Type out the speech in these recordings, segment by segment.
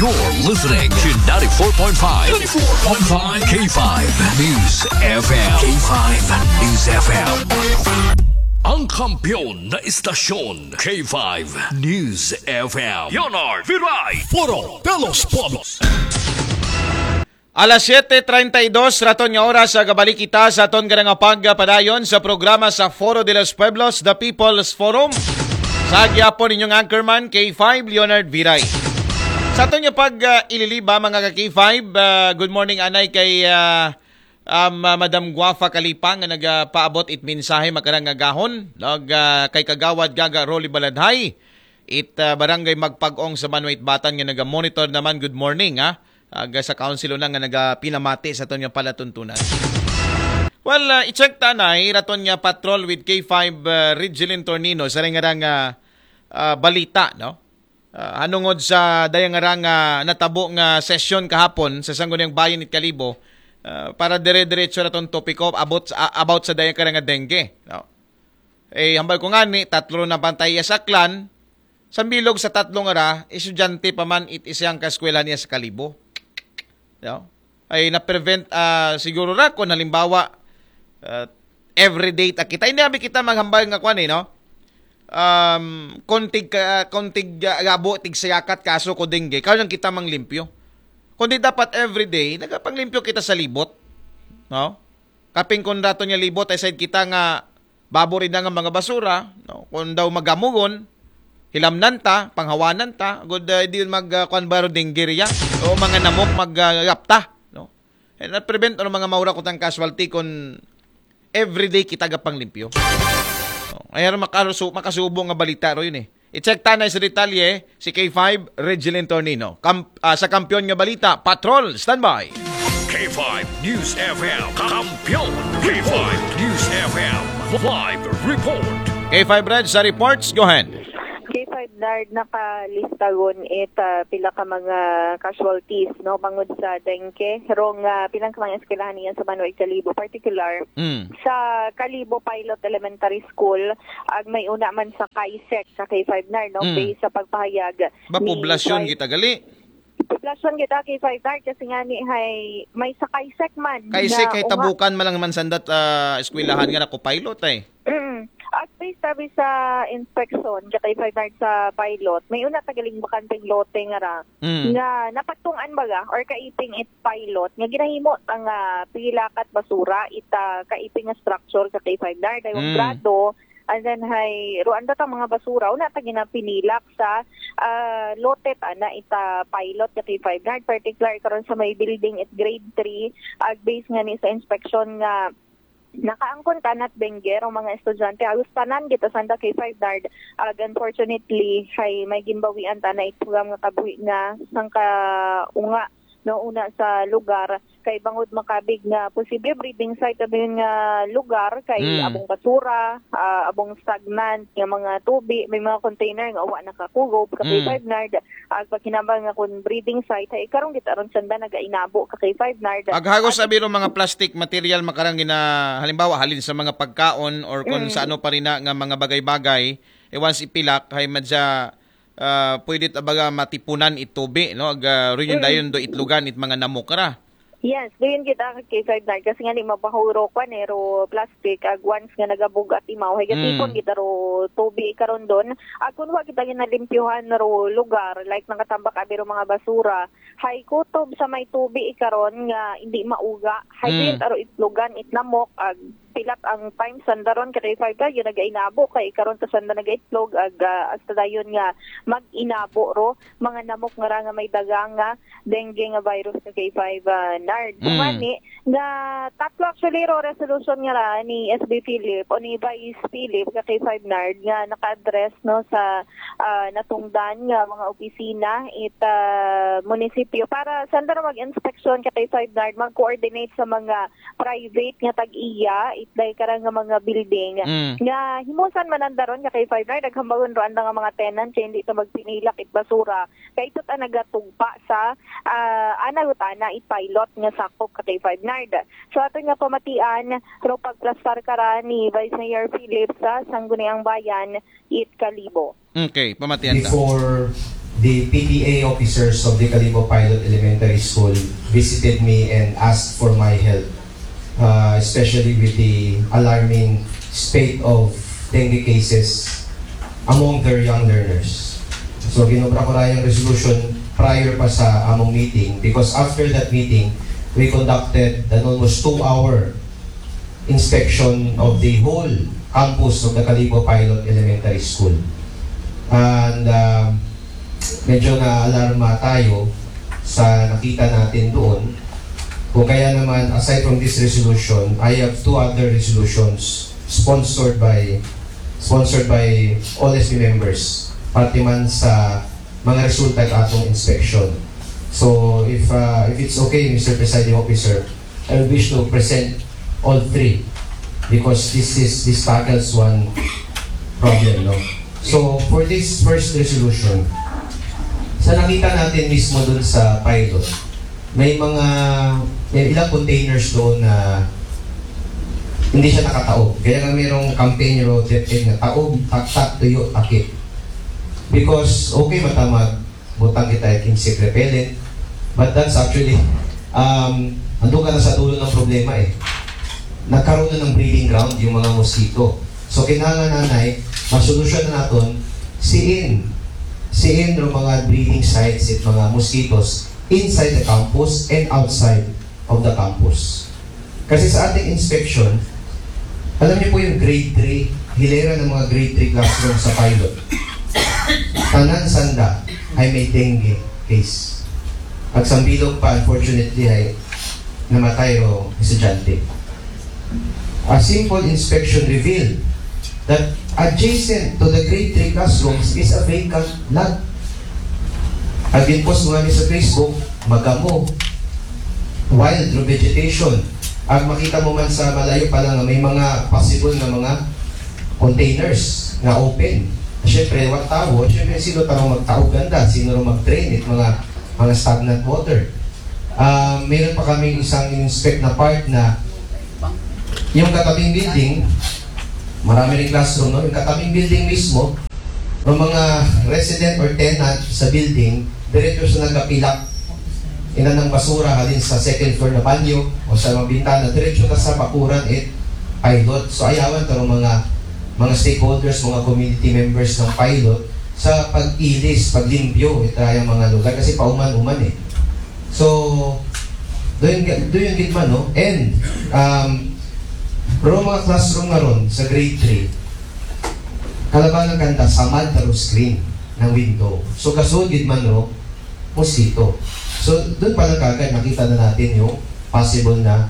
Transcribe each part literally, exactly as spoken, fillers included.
You're listening to ninety-four point five, ninety-four point five K five News F M. K five News F M. Ang kampiyon na istasyon, K five News F M. Leonard Viray. Foro de los Pueblos. Alas siyete treinta y dos raton nga oras, sa gabalik kita sa aton nga pagpadayon sa programa sa Foro de los Pueblos, The People's Forum. Sa gyapon inyong anchorman, K five Leonard Viray. Sa aton nga pag-ililiba, mga ka-K five, ah, good morning anay kay ah, um, ah, Madam Guafa Kalipang nga nagapaabot it mensahe makarang nga gahon, no, ga, kay Kagawad Gaga Rolly Baladhay, it ah, barangay Magpag-ong sa Manuait Batan nga naga-monitor naman. Good morning, ha. Aga sa council una nga nagapinamati sa aton nga palatuntunan. Well, ah, i-check ta anay raton nga patrol with K five ah, Ridgelin Tornino sa ring nga ah, ah, balita, no? Ah, hanungod sa dayang nga natabo nga sesyon kahapon sa Sangguniang Bayan it Kalibo, ah, para dire-diretso raton topiko about sa, about sa dayang karang nga dengue, no? Eh, hambal ko ngani, tatlo na bantay iya sa Aklan, sa bilog sa tatlo nga ra, estudyante pa man it isang kaeskwelahan niya sa Kalibo. No? Ay na-prevent, ah, siguro ra kung halimbawa, ah, everyday ta kita. Hindi abi kita maghambal nga kwan eh, no? Um, kontig ka, kontig ah, gabo, tig sayakat kaso ko dengue. Kaya lang kita manglimpyo. Kundi dapat everyday, nagapanglimpyo kita sa libot. No? Kaping kung rato niya libot, ay side kita nga babo rin nga mga basura, no? Kung daw magamugon, hilamnan ta, panghawanan ta, good uh, di yun mag uh, kwan baro dengue riya, o mga namok mag uh, gapta, no? And na-prevent ano mga maura kutang casualty kung everyday kita gapang limpyo. No? Ay makasu makasubo nga balita ro yun eh. I-check ta anay sa detalye si K five Regilin Tornino. Kam ah, sa kampiyon nga balita, Patrol, standby. K five News F M, kampiyon. K five News F M, live report. K five Reg sa reports, go ahead. K five Nard, nakalista gon it ah, pila ka mga casualties no bangod sa dengue rong ah, pila ka mga eskwelahan niya sa Manuel Kalibo, particular Mm. sa Kalibo Pilot Elementary School, ag may una man sa Kaisek sa K five Nard, no? Mm. Based sa pagpahayag Ba ni poblasyon Vice kita gali? Poblasyon kita K five Nard kasi nga ni hay may sa Kaisek man. Kaisek na hay unga- tabukan man lang man sandat ah, eskwelahan nga nako pilot eh. Mm. At based sabi sa inspection, sa K five Nard sa pilot, may una tagaling bakanteng lote nga ra Mm. nga napagtungan baga or kaiping it pilot nga ginahimo ang ah, pilakat basura ita kaiping nga structure sa K five Nard ay Mm. grado, and then hay ruan ta mga basura una ta ginapinilak sa ah, lote ta na ita pilot sa K five Nard, particular karon sa may building it grade three, ag base nga ni sa inspection nga nakaangkon ta nat dengue ang mga estudyante halos tanan kita sanda K five Nard, ag unfortunately hay may ginbawian ta na itugang nga kabuhi nga sangka unga no una sa lugar kay bangod makabig nga posible breeding site ano yun nga lugar kay Mm. abong basura, ah, abong stagnant nga mga tubi, may mga container nga wa nakakugob sa Mm. K five Nard, ag paghinambal nga kun breeding site hay karon gitaron sanda nagainabo ka K five Nard. Ag hagos At- abi ro mga plastic material makarang gina halimbawa halin sa mga pagkaon or kung Mm. sa ano pa rin na nga mga bagay-bagay, eh once ipilak hay madya ah, pwede ta baga matipunan itubi, no? Ag ah, rin yung Mm. dayon do itlugan it mga namok ra. Yes, doon kita kay K five Nard kasi nga ni mabahuro kwan eh, ro plastic, ag once nga nagabugat imaw, hay gatipon Mm. kita ro tubi karon doon. Ag kung wa kita ginalimpyuhan ro lugar, like nakatambak abi ro mga basura, hay kutob sa may tubi ikaron nga hindi mauga, hay Mm. mm. aro itlugan, itnamok, ag pilat ang time sandaron kay K five Nard, yun nagainabo kay ikaron ta sanda nagaitlog, ag ah, hasta dayon nga mag-inabo ro, mga namok nga ra nga may daga nga dengue nga virus sa K five ah, Nard. Mm. Kumani, nga tatlo actually ro resolution nga ra ni S B Philip o ni Vice Philip sa K five Nard nga naka-address no sa ah, natungdan nga mga opisina it ah, munisipyo para sanda ra mag-inspeksyon ka K five Nard, mag-coordinate sa mga private nga tag-iya it day karang nga mga building Mm. nga himusan man ang daron ka K five Nard, naghambagon ro anda nga mga tenant kay hindi ta magpinilak it basura kay ito ta nagatugpa sa ah, ana gutana it pilot nga sakop ka K five Nard. So ato nga pamatian ro pagplastar kara ni Vice Mayor Philip sa Sangguniang Bayan it Kalibo. Okay, pamatian ta. Before The P T A officers of the Kalibo Pilot Elementary School visited me and asked for my help, uh, especially with the alarming spate of dengue cases among their young learners. So, ginobra ko na yung resolution prior pa sa among meeting, because after that meeting, we conducted an almost two-hour inspection of the whole campus of the Kalibo Pilot Elementary School. And um, medyo naalarma tayo sa nakita natin doon. Kung kaya naman, aside from this resolution, I have two other resolutions sponsored by sponsored by all S B members, parte man sa mga resulta ng atong inspection. So, if uh, if it's okay, Mister Presiding Officer, I wish to present all three because this is this tackles one problem, no? So, for this first resolution, sa nakita natin mismo dun sa pilot, may mga may ilang containers doon na hindi siya nakataob. Kaya nga mayroong campaign ro DepEd nga taob, taktak, tuyo, takip. Because okay, matamag butang kita yung insect repellent, but that's actually um, andun ka na sa dulo ng problema eh. Nagkaroon na ng breeding ground yung mga mosquito. So kailangan, nanay, masolusyon na natin siin siin ng mga breeding sites at mga mosquitoes inside the campus and outside of the campus. Kasi sa ating inspection, alam niyo po yung grade three, hilera ng mga grade three classroom sa pilot. Tanan sanda ay may dengue case. Pagsambilog pa, unfortunately, ay namatay o estudyante. A simple inspection revealed that adjacent to the grade three classrooms is a vacant lot. Ag-post nga ni sa Facebook, magamo, wild vegetation. Ag makita mo man sa malayo pa lang nga may mga possible nga mga containers nga open. Siyempre, what tao? Siyempre, sino taro magtaob ganda? Sino ro mag-drain it mga mga stagnant water? Uh, meron pa kami isang inspect na part na yung katabing building, marami rin classroom, no? Yung katabing building mismo, ng mga resident or tenant sa building, diretso sa nagapilak ina ng basura halin sa second floor na banyo o sa mga bintana, diretso na sa bakuran at pilot. So ayawan to ng mga mga stakeholders, mga community members ng pilot sa pag-ilis, paglimpyo ito yung mga lugar kasi pauman-uman eh. So, doon doon gid man, no? And um, ro mga classroom nga ron sa grade three, kalabanan kanta samad taro screen ng window. So, gasud gid man ro mosquito. So, doon pa lang kagad nakita na natin yung possible na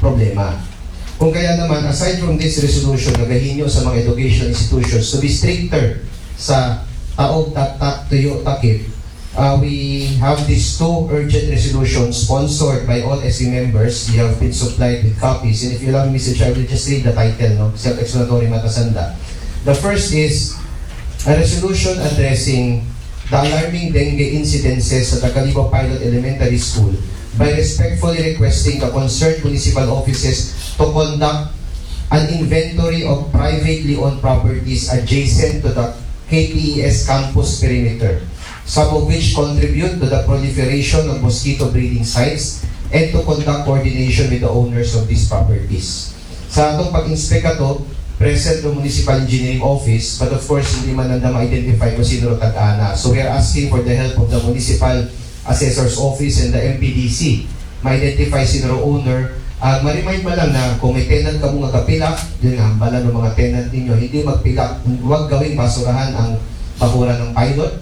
problema. Kung kaya naman, aside from this resolution, nagahinyo sa mga educational institutions to be stricter sa taob, taktak, tuyo, takip, uh, we have these two urgent resolutions sponsored by all S C members. You have been supplied with copies. And if you allow me, Mister Chair, I will just read the title, no? Self-explanatory matasanda. The first is a resolution addressing the alarming dengue incidences at the Kalibo Pilot Elementary School by respectfully requesting the concerned municipal offices to conduct an inventory of privately owned properties adjacent to the K P E S campus perimeter, some of which contribute to the proliferation of mosquito breeding sites, and to conduct coordination with the owners of these properties. Sa atong pag-inspect ato, present ng Municipal Engineering Office, but of course, hindi man nanda ma-identify kung sino ro tag-ana. So we are asking for the help of the Municipal Assessor's Office and the M P D C. Ma-identify sino ro owner. Ag ma-remind man lang na kung may tenant kamo nga gapilak, yun nga, hambalan ng mga tenant ninyo, hindi magpilak, huwag gawing basurahan ang bakuran ng pilot.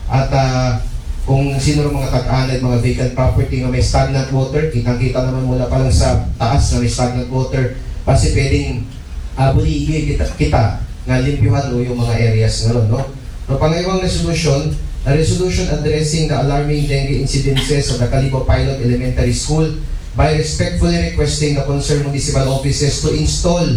At ah, kung sino ro mga tag-ana, mga vacant property nga may stagnant water, kitang-kita naman mula pa lang sa taas na may stagnant water, basi pwedeng ah, buligi kita, kita nga limpyuhan o yung mga areas nga ron, no? No, pangaywang resolution, a resolution addressing the alarming dengue incidences of the Kalibo Pilot Elementary School by respectfully requesting the concerned municipal offices to install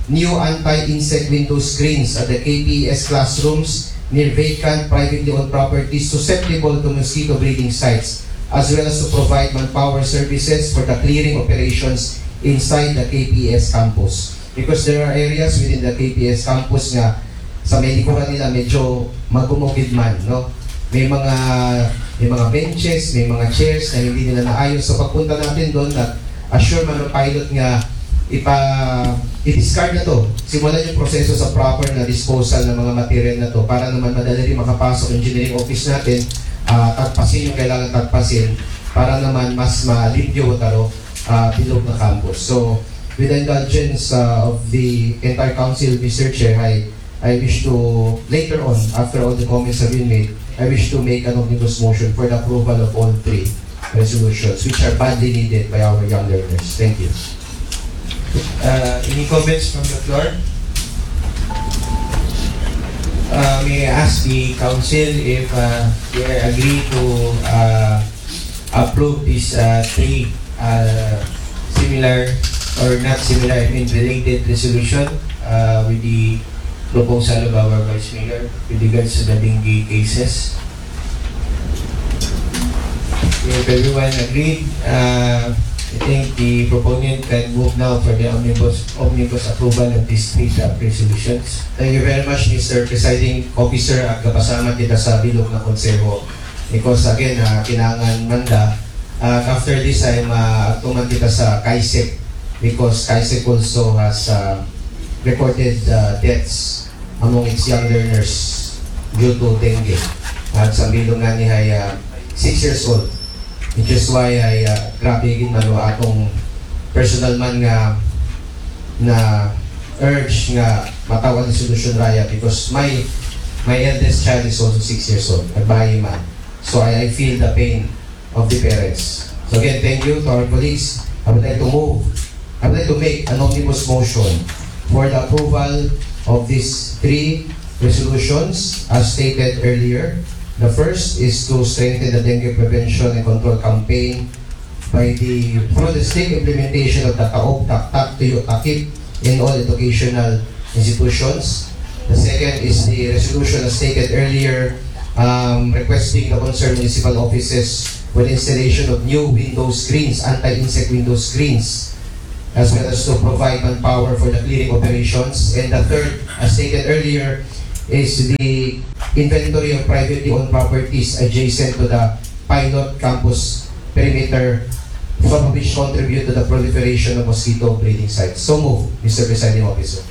new anti-insect window screens at the K P E S classrooms near vacant privately owned properties susceptible to mosquito breeding sites, as well as to provide manpower services for the clearing operations inside the K P E S campus. Because there are areas within the K P E S campus nga sa may likuran nila medyo magumugid man, no? May mga may mga benches, may mga chairs na hindi nila naayos. So pagpunta natin doon, nag-assure man ang pilot nga ipa i-discard na to. Simulan yung proseso sa proper na disposal ng mga material na to para naman madali rin makapasok engineering office natin, uh, tagpasin yung kailangan tagpasin para naman mas malimpyo taro uh, bilog na campus. So with the indulgence uh, of the entire council, Mister Chair, I I wish to, later on, after all the comments have been made, I wish to make an omnibus motion for the approval of all three resolutions, which are badly needed by our young learners. Thank you. Uh, any comments from the floor? Uh, may I ask the council if uh, they agree to uh, approve these uh, three uh, similar or not similar, I mean related resolution uh, with the proposal of our Vice Mayor with regards to the dengue cases. If everyone agreed, uh, I think the proponent can move now for the omnibus, omnibus approval of this three top resolutions. Thank you very much, Mister Presiding Officer. Agkapasalamat kita sa bilog na konseho. Because again, uh, kinangan manda. Uh, after this, I'm uh, tuman kita sa CAISEC because CAISEC also has uh, recorded uh, deaths among its young learners due to dengue at sa bilong nga ni ay uh, six years old, which is why ay uh, grabe gid man atong personal man nga na urge nga matawan ni solusyon raya because my my eldest child is also six years old, nagbahay man. So I, I feel the pain of the parents. So again, thank you to our colleagues. I would like to move, I would like to make an omnibus motion for the approval of these three resolutions as stated earlier. The first is to strengthen the dengue prevention and control campaign by the through the strict implementation of the Taob, Taktak, Tuyo, Takip in all educational institutions. The second is the resolution as stated earlier um, requesting the concerned municipal offices for the installation of new window screens, anti-insect window screens, as well as to provide manpower for the clearing operations. And the third, as stated earlier, is the inventory of privately owned properties adjacent to the pilot campus perimeter from which contribute to the proliferation of mosquito breeding sites. So move, Mister Presiding Officer.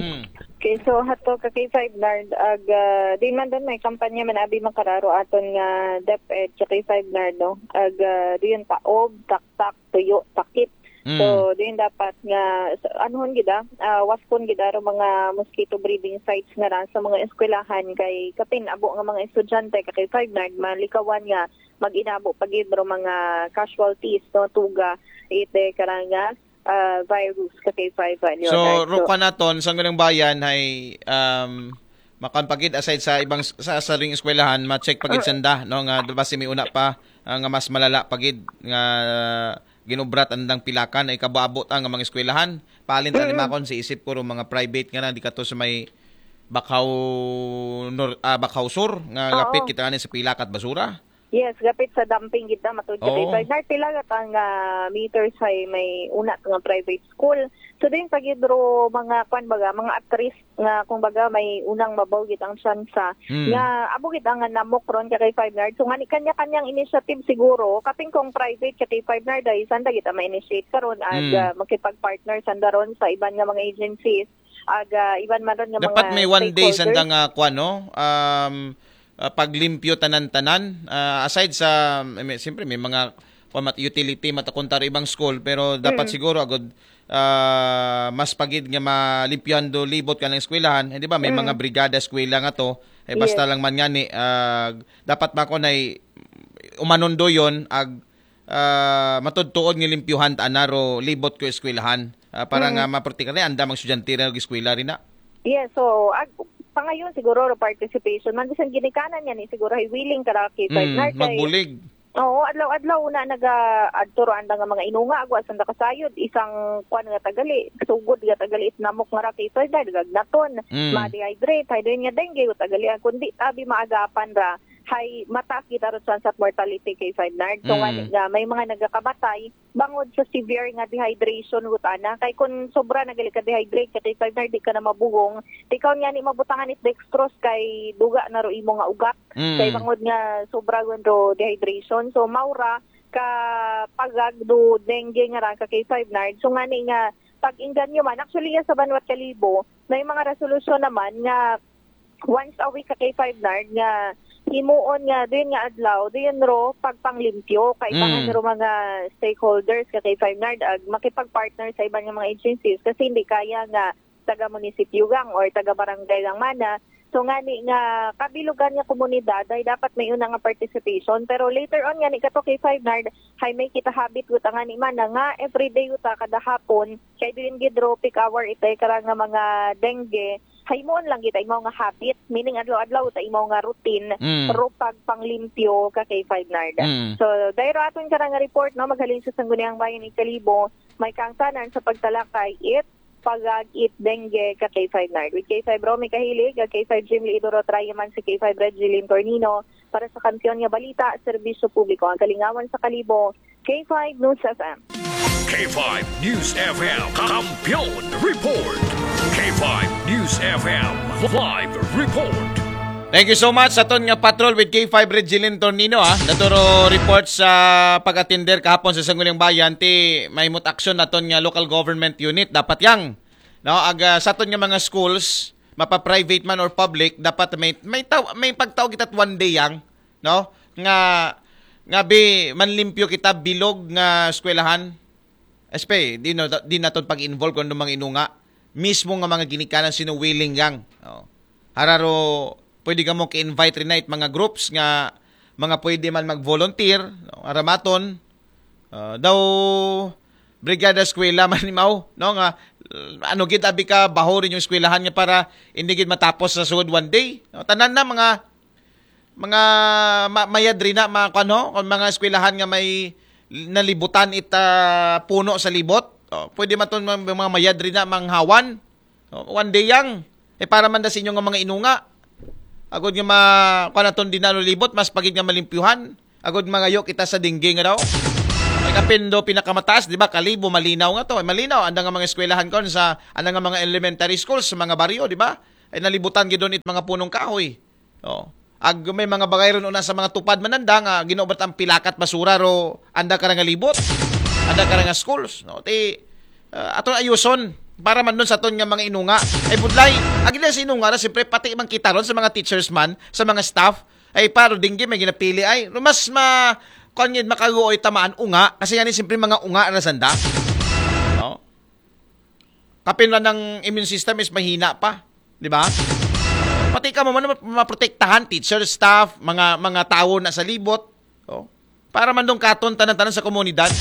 Mm. Okay, so hato ka K five Nard, ag uh, di man doon may kampanya man abi makararo aton nga DepEd sa K five Nard, no? Ag uh, di yun taob, taktak, tuyo, takip. Mm. So, din dapat nga anuhon gid ah, uh, waspon gid aro mga mosquito breeding sites nga ra sa mga eskwelahan kay kapin abo nga mga estudyante ka K five Nard malikawan nga mag-inabo pa gid ro mga casualties no tuga ite karanga uh, virus ka K five ano. So, so rukan naton sa ngunang bayan ay um, makan pagid aside sa ibang sa saring eskwelahan ma-check pagid uh, sanda no nga basi may una pa uh, nga mas malala pagid nga ginubrat andang pilakan ay kabuabot ang mga eskwelahan. Palin mm-hmm. Makon si isip ko mga private nga na di kato sa may Bakaw nor, ah, Bakaw Sur nga Oo. Gapit kita ani sa pilakat basura. Yes, gapit sa dumping kita matud ka oh. Sa Narte lagat ang uh, meters ay may una nga private school. So din pagidro mga kwan baga mga at risk nga kung baga may unang mabaw gid ang tsansa mm. Nga abo gid ang namok ron ka kay Five Nard. So ngani kanya-kanyang initiative siguro kapin kung private ka kay Five Nard ay sanda gid ang ma-initiate karon ag mm. uh, makipag-partner sanda ron sa iban nga mga agencies ag uh, iban man ron nga dapat mga may one day sanda nga kwan no um uh, paglimpyo tanan-tanan uh, aside sa I mean, siyempre may mga kwan mat utility matakuntaro ibang school pero dapat mm. Siguro agud uh, mas pagid nga malimpyuhan do libot kanang eskwelahan, eh, di ba? May mm. Mga brigada eskwela nga to. Eh, basta yes. Lang man ngani, uh, dapat man ko na umanon do yon ag uh, matudtuod nga limpyuhan ta anaro libot ko eskwelahan uh, para mm. Nga maprotektahan anda mga estudyante rin eskwela rin na. Yes, so ag, pangayon siguro ro participation man bisan ginikanan niya ni siguro ay willing kara kita mm, magbulig. Oo, adlaw-adlaw una naga adto ro anda nga mga inunga agwa sanda kasayod isang kwan nga tagali, sugod nga tagali itnamok nga ra kay soy dahil gagnaton, mm. Ma-dehydrate, hay din nga dengue tagali ang kundi tabi maagapan ra hay mataas gid ang chance of mortality, K five Nard. So, Mm. ngani nga may mga nagakamatay bangod sa severe nga dehydration gud ana. Kay kung sobra na gali ka dehydrate ka, K five Nard, di ka na mabugong. Di ka ngani mabutangan it dextrose kay duga na ro imo nga ugat. Mm. Kay bangod nga sobra gud ro dehydration. So, mao ra ka pagag do dengue nga ra ka, K five Nard. So, ngani nga pag-inganyo man, actually, yan sa Banwat Kalibo, may mga resolusyon naman nga once a week ka, K five Nard, nga himuon nga din nga adlaw, din ro pagpanglimpyo, kaibahan Mm. ro mga stakeholders ka, K five Nard, ag makipag-partner sa iban nga mga agencies kasi hindi kaya nga taga munisipyo gang or taga barangay lang mana. So, ngani nga kabilugan nga komunidad ay dapat may una nga participation. Pero later on, ngani kato, K five Nard, hay may kita habit gud ang ngani mana nga everyday uta kada hapon, kay diin gid ro peak hour itay kara nga mga dengue, hay muon lang kita imaw nga habit, meaning adlaw-adlaw ta imaw nga routine, Mm. ro pagpanglimpyo ka, K five Nard. Mm. So, dahil ro aton kara nga report, no, maghalin sa Sangguniang Bayan Kalibo, may kaangtanan sa pagtalakay it pagag it dengue ka, K five Nard. With K five Romy Kahilig, ag K five Jim Leidoro, Trayaman si K five Reggie Lim Tornino para sa Kampiyon nga Balita, Serbisyo Publiko, ang Kalingawan sa Kalibo, K five News F M. K five News F M Kampiyon Report. K five News F M Live Report. Thank you so much sa aton nga patrol with K five Regilin Tornino, ha. Naturo report sa pag-atender kahapon sa Sangguniang Bayan, ti mahimut aksyon naton nga local government unit dapat yang, no, ag ah, sa aton nga mga schools, mapa-private man or public, dapat may may taw, may pagtaw kita one day yang, no, nga nga bi manlimpyo kita bilog nga eskwelahan. Espe, di, no, di naton pag-involve kung anong mga inunga. Mismo nga mga ginikanan sino willing yang. Oh. Hararo, pwede ka mo ka-invite rin na it mga groups nga mga pwede man mag-volunteer, no? Aramaton, ah, daw brigada eskwela man imaw, no, nga uh, ano gid abi ka baho rin yung eskwelahan nga para hindi gid matapos sa sugod one day, no? Tanan na mga mga ma- mayad rin na mga kuan ho, kung mga eskwelahan nga may nalibutan it ah, puno sa libot. Oh, pwede man ton mga, mga mayad rin na manghawan. Oh, one day yang. Eh para man da sa inyo nga mga inunga. Agod nga ma kuan aton di na libot, mas pagid nga malimpyuhan. Agod mangayo kita sa dengue nga daw. Ay kapin do pinakamataas, di ba? Kalibo, malinaw nga to. Malinaw, anda nga mga eskwelahan kon sa anda nga mga elementary schools sa mga baryo, di ba? Ay nalibutan gid doon it mga punong kahoy. Oh. Ag may mga bagay ron una sa mga tupad mananda nga ginubat ang pilakat basura ro anda ka nga libot. Anda ka nga schools, no? Ti ah, aton ayuson para man doon sa aton nga mga inunga. Ay budlay, agi na sa inunga na siyempre pati man kita ron sa mga teachers man, sa mga staff, ay paro dinggi may ginapili ay mas ma kuan gid makaguoy tamaan unga kasi nga ni siyempre mga unga na sanda. No? Kapin lang ng immune system is mahina pa, di ba? Pati ka mo man maprotektahan, teacher, staff, mga mga tawo na sa libot. Oh. Para man dong katon tanan-tanan sa komunidad.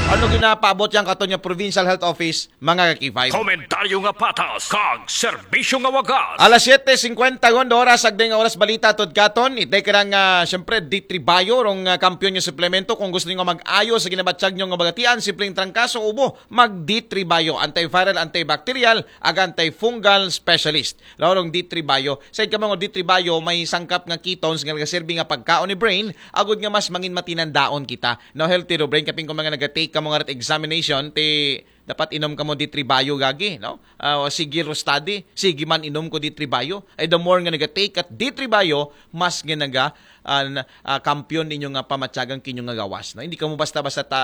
Ano ginapaabot yang katon nga Provincial Health Office, mga ka-K five? Komentaryo nga patas, kag serbisyo nga wagas. Alas siyete singkwenta gon oras, agday nga oras balita tod katon. Itay ka nga, siyempre, D three Bio, rong ah, kampiyon nga suplemento. Kung gusto niyo nga mag-ayo sa ginabatyag niyo nga bagatian, simpleng trangkaso, ubo, mag D three Bio. Antiviral, antibacterial, ag antifungal specialist. Laurong D three Bio. Said ka mga D three Bio, may sangkap nga ketones nga nagaserbi nga pagkaon ni brain, agud nga mas mangin matinandaon kita. No, healthy ro brain, kapin kung mga nagatake ka mga rat examination, ti dapat inom ka mo D three Bio gagi, no? Ah, o sige ro study, sige man inom ko D three Bio. Ay the more nga nagatake at D three Bio, mas nga naga ah, na- ah, kampiyon ninyo nga pamatyagan kinyo nga gawas. No? Hindi ka mo basta-basta ta,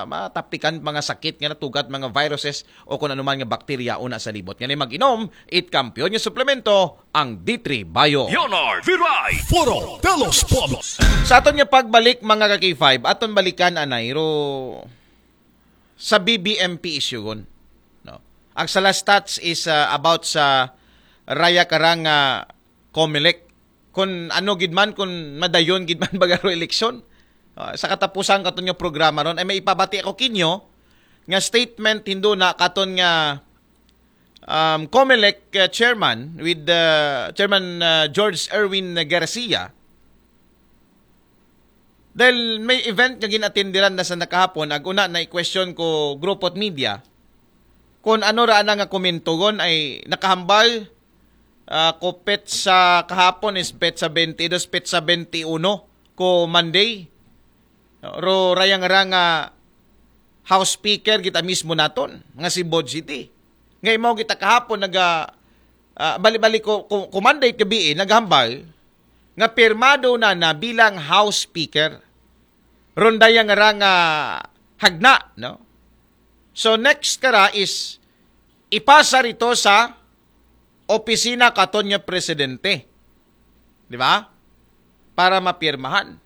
matapikan mga sakit nga natugat, mga viruses o kung anuman nga bakterya una sa libot. Nga mag-inom, it kampiyon nga suplemento, ang D three Bio. Leonard Viray. Foro de los Pueblos. Sa aton nga pagbalik, mga ka-K five, aton balikan anay ro sa B B M P issue gon. No? Ang sa last stats is uh, about sa raya karang uh, Comelec. Kung ano gid man, kung madayon gid man bagaro eleksyon. Uh, sa katapusan katon nga programa ron ay may ipabati ako kinyo nga statement hindo na katon nga um, Comelec uh, chairman with uh, Chairman uh, George Erwin Garcia. Dahil may event nga ginatindiran na sa nakahapon, ag una na i-question ko grupo at media, kung ano ra ana nga komentogon ay nakahambal Ah, ko petsa kahapon is petsa twenty-two, petsa twenty-one ko Monday. Ro rayang ra nga House Speaker kita mismo naton nga si Boji T. Nga imaw kita kahapon naga ah, bali-bali ko, ko, ko Monday gabi eh, naghambal nga pirmado na na bilang House Speaker. Ron dayang ra nga hagna, no? So next kara is ipasa rito sa opisina katon nga presidente. Di ba? Para mapirmahan.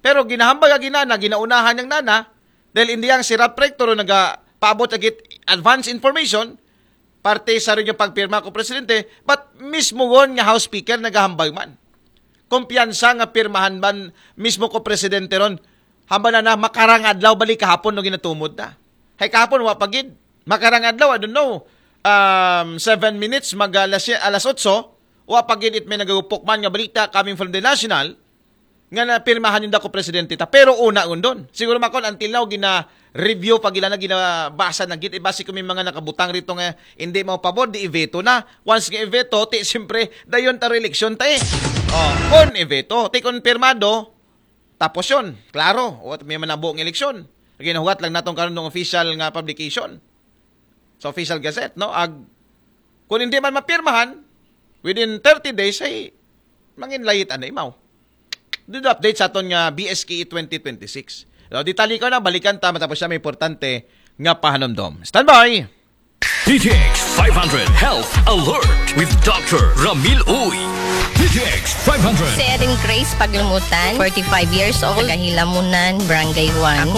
Pero ginahambal ka ginana, ginaunahan niyang nana, dahil hindi ang si Ralph Rector nagapaabot agit advance information, parte sa rin yung pagpirma ko presidente, but mismo won nga House Speaker nagahambal man. Kumpiyansa nga pirmahan man mismo ko presidente ron, hambal na na, makarang adlaw balik kahapon no ginatumod na. Hay kahapon, wa pa gid. Makarang adlaw, I don't know, um, seven minutes, mag alas, alas otso, wa pa gid it may nagagupok man nga balita coming from the national, nga napirmahan yung dako presidente ta. Pero una undon. Siguro makon until now, gina-review pa gila na ginabasa na gid. Ibasi ko may mga nakabutang rito nga hindi mo pabor, di i-veto na. Once nga i-veto, ti siyempre, dayon ta eleksyon ta eh. Oh, kon i-veto, ti kon pirmado, tapos yun. Klaro, o may manabo ng eleksyon. Ginahuwat lang natong karon ng official nga publication sa official gazette, no? Ag, kung hindi man mapirmahan, within thirty days ay mangin layit anay maw. Dito update sa aton nga B S K E twenty twenty-six. So, detalye ko na, balikan ta matapos siya may importante nga pahanumdom. Standby! D T X five hundred Health Alert with Doctor Ramil Uy. D T X five hundred. Si Erin Grace Paglumutan, forty-five years old, taga Hilamunan, Barangay one. Ako